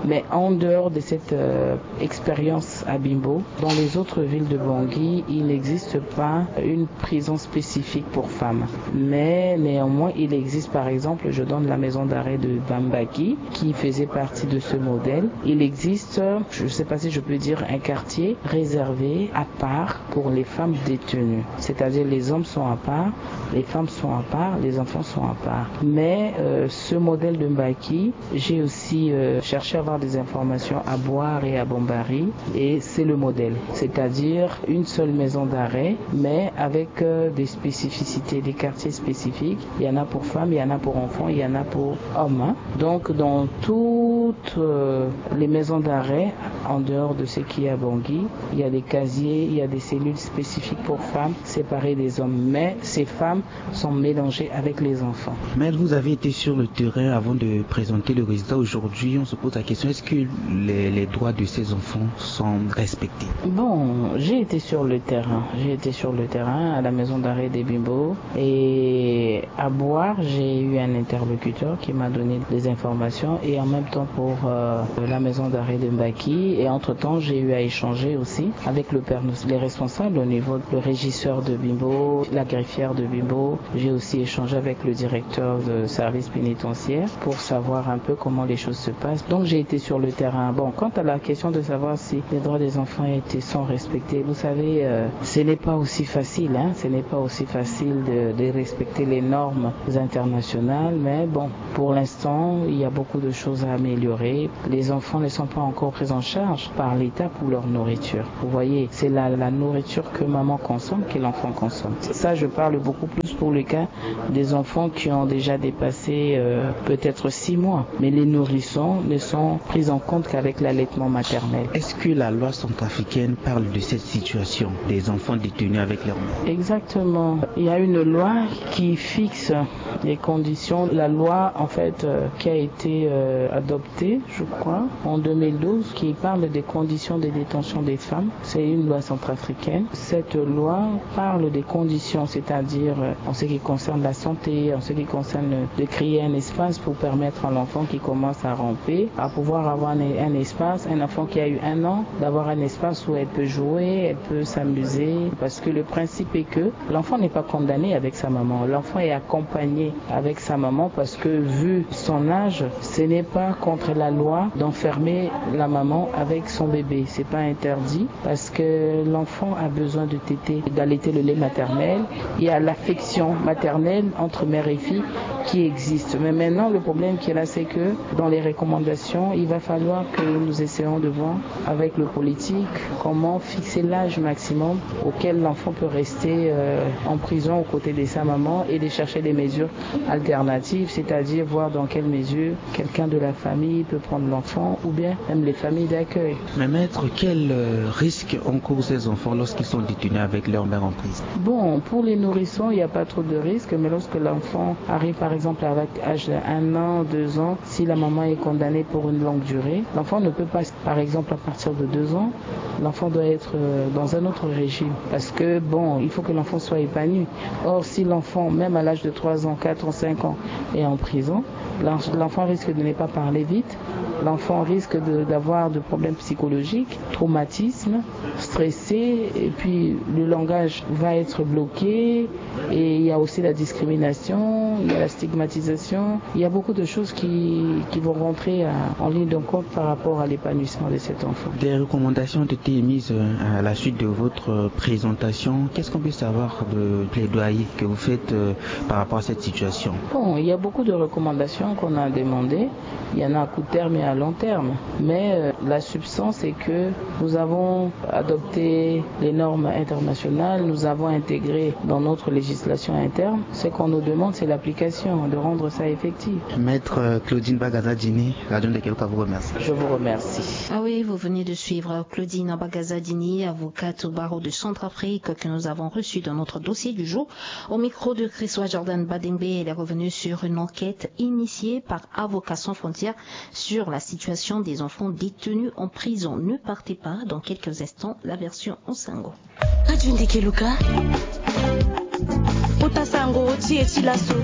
Mais en dehors de cette, euh, expérience à Bimbo, dans les autres villes de Bangui, il n'existe pas une prison spécifique pour femmes. Mais néanmoins, il existe, par exemple, je donne la maison d'arrêt de Bambaki, qui faisait partie de ce modèle. Il existe, je ne sais pas si je peux dire, un quartier réservé à part pour les femmes détenues. C'est-à-dire les hommes sont à part, les femmes sont à part, les enfants sont à part. Mais, euh, ce modèle de Mbaki, j'ai aussi, euh, cherché à avoir des informations à Bouar et à Bambari, et c'est le modèle. C'est-à-dire une seule maison d'arrêt, mais avec, euh, des spécificités, des quartiers spécifiques. Il y en a pour femmes, il y en a pour enfants, il y en a pour hommes, hein. Donc, dans tout Toutes, euh, les maisons d'arrêt, en dehors de ce qui est à Bangui, il y a des casiers, il y a des cellules spécifiques pour femmes, séparées des hommes. Mais ces femmes sont mélangées avec les enfants. Mais vous avez été sur le terrain avant de présenter le résultat. Aujourd'hui, on se pose la question, est-ce que les, les droits de ces enfants sont respectés ? Bon, j'ai été sur le terrain. J'ai été sur le terrain à la maison d'arrêt de Bimbo. Et à Boar, j'ai eu un interlocuteur qui m'a donné des informations. Et en même temps pour, euh, la maison d'arrêt de Mbaki. Et entre-temps, j'ai eu à échanger aussi avec le père, les responsables au niveau, le régisseur de Bimbo, la greffière de Bimbo. J'ai aussi échangé avec le directeur de service pénitentiaire pour savoir un peu comment les choses se passent. Donc j'ai été sur le terrain. Bon, quant à la question de savoir si les droits des enfants étaient, sont respectés, vous savez, euh, ce n'est pas aussi facile, hein, ce n'est pas aussi facile de, de respecter les normes internationales, mais bon, pour l'instant, il y a beaucoup de choses à améliorer. Les enfants ne sont pas encore pris en charge par l'État pour leur nourriture. Vous voyez, c'est la, la nourriture que maman consomme que l'enfant consomme. Ça, je parle beaucoup plus pour le cas des enfants qui ont déjà dépassé, euh, peut-être six mois. Mais les nourrissons ne sont pris en compte qu'avec l'allaitement maternel. Est-ce que la loi centrafricaine parle de cette situation des enfants détenus avec leur mère ? Exactement. Il y a une loi qui fixe les conditions. La loi, en fait, euh, qui a été, euh, adoptée, je crois, en deux mille douze, qui parle des conditions de détention des femmes. C'est une loi centrafricaine. Cette loi parle des conditions, c'est-à-dire, euh, en ce qui concerne la santé, en ce qui concerne de créer un espace pour permettre à l'enfant qui commence à ramper à pouvoir avoir un, un espace, un enfant qui a eu un an, d'avoir un espace où elle peut jouer, elle peut s'amuser, parce que le principe est que l'enfant n'est pas condamné avec sa maman, l'enfant est accompagné avec sa maman, parce que vu son âge, ce n'est pas contre la loi d'enfermer la maman avec son bébé, c'est pas interdit, parce que l'enfant a besoin de téter, d'allaiter le lait maternel. Il y a l'affection maternelle entre mère et fille qui existe. Mais maintenant, le problème qui est là, c'est que dans les recommandations, il va falloir que nous essayons de voir avec le politique comment fixer l'âge maximum auquel l'enfant peut rester, euh, en prison aux côtés de sa maman et de chercher des mesures alternatives, c'est-à-dire voir dans quelle mesure quelqu'un de la famille peut prendre l'enfant ou bien même les familles d'accueil. Mais maître, quel, euh, risque encourent ces enfants lorsqu'ils sont détenus avec leur mère en prison ? Bon, pour les nourrissons, il n'y a pas trop de risque, mais lorsque l'enfant arrive par exemple avec âge d'un an, deux ans, si la maman est condamnée pour une longue durée, l'enfant ne peut pas, par exemple, à partir de deux ans, l'enfant doit être, euh, dans un autre régime. Parce que, bon, il faut que l'enfant soit épanoui. Or, si l'enfant, même à l'âge de trois ans, quatre ans, cinq ans, est en prison, l'en-, l'enfant risque de ne pas parler vite, l'enfant risque de, d'avoir de problèmes psychologiques, traumatisme, stressé, et puis le langage va être bloqué, et il y a aussi la discrimination, il y a la stigmatisation, il y a beaucoup de choses qui, qui vont rentrer, euh, en ligne de compte par rapport à l'épanouissement de cet enfant. Des recommandations ont été émises, euh, à la suite de votre, euh, présentation. Qu'est-ce qu'on peut savoir de plaidoyer que vous faites, euh, par rapport à cette situation ? Bon, il y a beaucoup de recommandations qu'on a demandées. Il y en a à court terme et à long terme. Mais, euh, la substance, c'est que nous avons adopté les normes internationales, nous avons intégré dans notre législation interne. Ce qu'on nous demande, c'est l'application, de rendre ça effectif. Maître, euh, Claudine Bagazadini, Radio Ndekeluka vous remercie. Je vous remercie. Ah oui, vous venez de suivre Claudine Bagazadini, avocate au barreau de Centrafrique, que nous avons reçue dans notre dossier du jour. Au micro de Chrisois Jordan Badengbe, elle est revenue sur une enquête initiée par Avocats sans frontières sur la situation des enfants détenus en prison. Ne partez pas, dans quelques instants, la version en sango. Radio Ndekeluka. Kota sango ti e ti laso.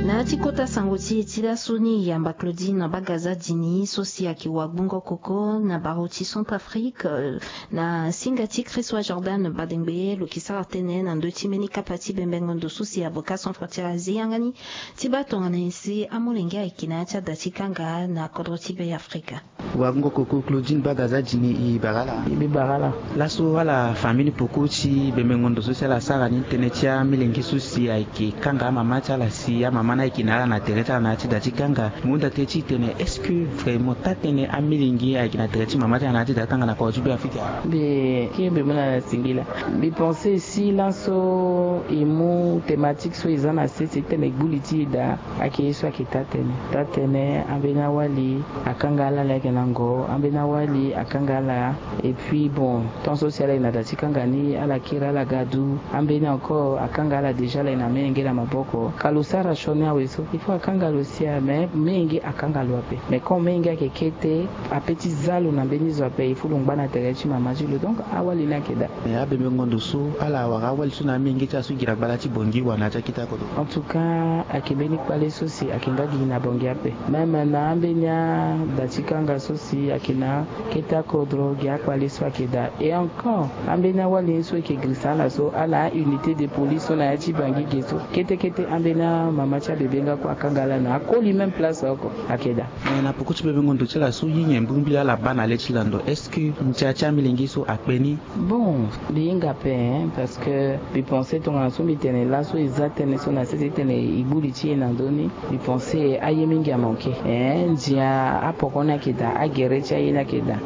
Na ya ti kota sango ti e ti laso ni, yamba Claudine Bagazadini so si ayeke wagbongo koko na barreau ti Centrafrique, euh, na singa ti Chrisois Jordan Badengbe, lo yeke sara tënë na ndö ti mbeni kapa ti bembengo ndo so si Avocats sans frontières azi yanga ni ti baa tongana nyen si amolenge ayeke na ya ti ada ti kanga na kodro ti Be Afrika. Wagbongo koko Claudine Bagazadini, e bara ala. E bara ala. Laso ala famille ni poko ti bembengo ndo so si ala sara ni tënë ti amolenge so si ayeke kanga amama ti ala si amama ni Ayeke na ala na tere ti ala na ya ti da ti kanga. Mo hunda tënë ti tene est-ce que vraiment taa-tënë amilenge ayeke na tere ti mama ti ala na ya ti da ti kanga na kodro ti Beafrika? Mbi kiri mbi mu na singila. Mbi pense si laso e mu thématique so e za na sese ti tene e gbu li ti e daa, ayeke ye so ayeke taa-tënë. Taa-tënë ambeni awali akanga ala laa ayeke na ngo, ambeni awali akanga ala. Et puis bon, tant so si ala yeke na da ti kanga ni, ala kiri ala ga du. Ambeni encore akanga ala déjà, ala yeke na amenge na maboko. Ka lo sara sioni awe so, il faut akanga lo sia, mais menge akanga lo ape. Mais comme menge ayeke kete, ape ti za lo na mbeni zo ape, il faut lo ngba na tere ti mama ti lo. Donc awali ni ayeke daa. Mais abembengo ndo so ala wara awali so na amenge ti ala so gi na gbala ti Bangui wala na ya ti akete akodro? En tout cas ayeke mbeni kpale so si ayeke nga gi na Bangui ape. Même na ambeni ada ti kanga so si ayeke na akete akodro, gi akpale so ayeke daa. Et encore ambeni awali ni so e yeke girisa ala so, ala a unité de police so na ya ti Bangui ge so, kete kete ambeni amama ti abebe nga kue akanga ala na akoli même place oko, ayeke daa. Mais na peko ti bembengo ndo ti ala so, ye nyen mbirimbiri ala baa na le ti lando? Est-ce que ndia ti amilenge so akpe ni? Bon, mbi hinga ape, hein, parce que mbi pense tongana so mbi tene laso e za tënë so na sese ti tene e gbu li ti e na ndö ni, mbi pense aye mingi amanke. Hein, ndia apoko ni ayeke daa, agere ti aye ni ayeke daa.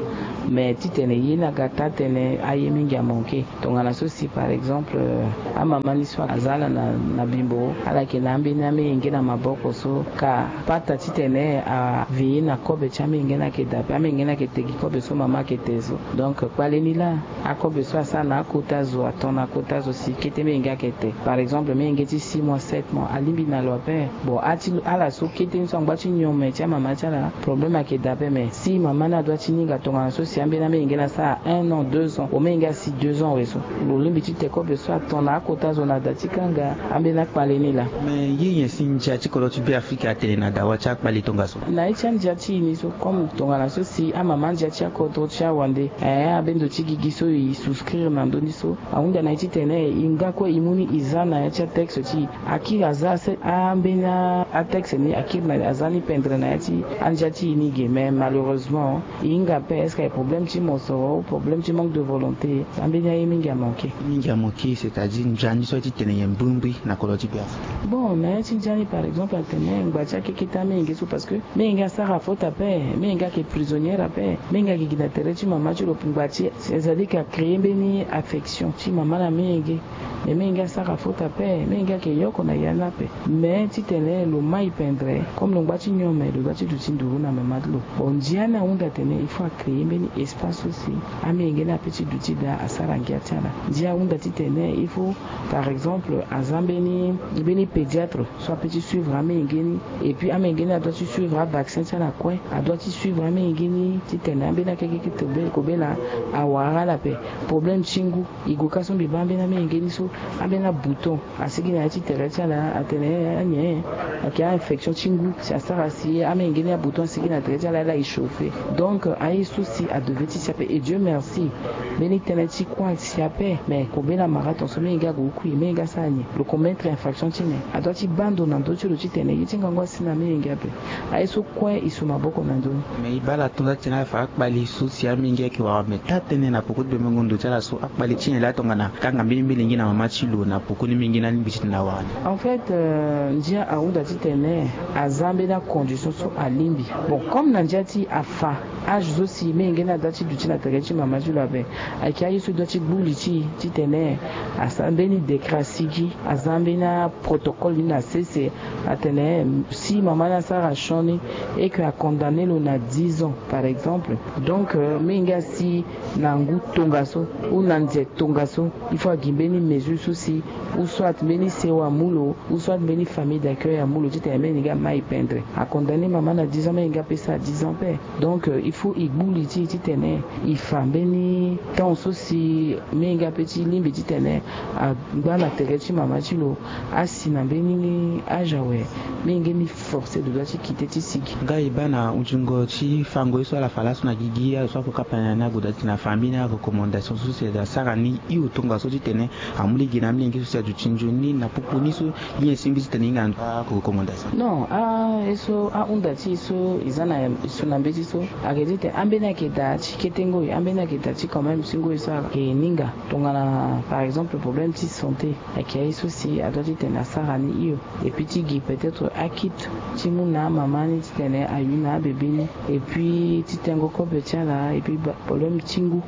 Mais ti tene ye ni aga taa-tënë, aye mingi amanke. Tongana so si par exemple, euh, amama ni so aza ala na, na bimbo, ala yeke na ambeni amenge na maboko so, ka pata ti tene aveiller na kobe ti amenge ni ayeke daa ape, amenge ni ayeke te gi kobe so mama ayeke te so. Donc kpale ni laa, akobe so asara na akota zo, aton na akota zo si kete menge ayeke te. Par exemple menge ti six mois, sept mois, alingbi na lo ape. Bon, a ti ala so kete ni so angba ti nyome ti amama ti ala, problème ayeke daa ape. Mais si mama ni adoit ti hinga tongana so si ambeni amenge ni asara un an, deux ans, o menge asi deux ans awe so, lo lingbi ti te kobe so aton na akota zo na da ti kanga, ambeni akpale ni laa. Mais ye nyen si ndia ti kodro ti Beafrika atene na dawa ti akpale tongaso? Na ye ti andia ti e ni so, comme tongana so si amama andia ti akodro ti awande, eh, abendo ti gigi so e souscrire na ndö ni so, ahunda na ye ti tene e nga kue e mu ni e za na ya ti atexte ti e. Akiri aza se, ambeni atexte ni akiri na, aza ni pendre na ya ti andia ti e ni ge. Mais malheureusement e hinga ape, est-ce que aye problème ti mosoro, problème ti manque de volonté? Ambeni aye mingi amanke. Mingi amanke, c'est-à-dire ndia ni so aye ti tene nyen mbirimbiri na kodro ti Beafrika? Bon, na ya ti ndia ni par exemple atene ngba ti akekete amenge so, parce que menge asara faute ape, menge ayeke prisonnière ape, menge ayeke gi na tere ti mama ti lo ngba ti, c'est-à-dire que acréer mbeni affection ti mama na menge. Mais menge asara faute ape, menge ayeke yoko na ya ni ape. Mais ti tene lo mai pendre, comme lo ngba ti nyome, lo doit ti duti nduru na mama ti lo. Bon, ndia ni ahunda tene il faut acréer mbeni espace so si amenge ni ape ti duti daa asara ngia ti ala. Ndia ahunda ti tene il faut, par exemple, aza mbeni, mbeni pédiatre so ape ti suivre amenge ni. Et puis amenge ni adoit ti suivre avaccin ti ala kue, adoit ti suivre amenge ni ti tene ambeni akekete kobela, kobela awara ala ape. Problème ti ngu, e gue ka so mbi baa ambeni amenge ni so, ambeni abouton asigi na ya ti tere ti ala, atene anye ayeke a-infection ti ngu si asara si amenge ni abouton asigi na tere ti ala, ala e chauffer. Donc aye so si adevait ti si ape. Et Dieu merci, mbeni tënë ti kue asi ape. Mais kobela mara tongaso menge ague kui, menge asara nyen? Lo commettre infraction ti nyen? Adoit ti baa ndo na ndö ti lo ti tene ye ti ngangu asi na menge ape. Aye so kue e su maboko na ndö ni. Mais e baa ala tongaso ti tene ala fa akpali so si amenge ayeke wara, mais taa-tënë na peko ti bembengo ndo ti ala so, akpali ti nyen laa tongana akanga mbeni milenge na mama ti lo na peko ni menge ni alingbi ti tene awara ni? En fait, euh, ndia ahunda ti tene aza mbeni acondition so alingbi. Bon, comme na ndia ti e afa âge so si menge ni adoit ti duti na tere ti mama ti lo ape, ayeke aye so e doit ti gbu li ti e ti tene asara mbeni décret asigi, aza mbeni aprotocole ni na sese, atene si mama ni asara sioni et que acondamner lo na dix ans par exemple, donc, euh, menge asi na ngu tongaso ou na nze tongaso, il faut agi mbeni mesure so si, ou soit mbeni sewa amu lo, ou soit mbeni famille d'accueil amu lo ti tene menge amai pendre. Acondamner mama na dix ans, menge apesa dix ans ape. Donc, euh, il faut e gbu li ti e ti tene e fa mbeni temps so si menge ape ti lingbi ti tene angba na tere ti mama ti lo, asi na mbeni âge awe, menge ni forcé lo doit ti quitter ti sigi. Nga e baa na hunzingo ti fango ye so ala fa laso na gigi, ala so akokapa na ni ague daa ti tene afa mbeni arecommandation so si asara ni hio tongaso ti tene amu lege na amilenge so si aduti nzoni na popo ni so, ye nyen si e lingbi ti tene e hinga na ndö ti arecommandation? Non, aye so ahunda ti e so e za na e so na mbeti so, ayeke ti tene ambeni ayeke daa. Ti kete ngoi ambeni ayeke daa ti quand même ti ngoi so ayeke hinga tongana par exemple problème ti santé, ayeke aye so si adoit titene asara ni hio. Et puis ti gi peut-être akit ti mu na amama ni titene ayu na abebe ni. Et puis ti tengo kobe ti ala et puis problème ti ngu.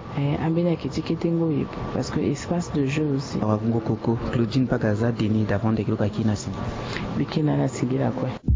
Ambeni ayeke ti kete ngoi parce que espace de jeu aussi. Awakungo koko Claudine Bagaza Denis davant de kilo kaki na singila. Bikina na singila kue.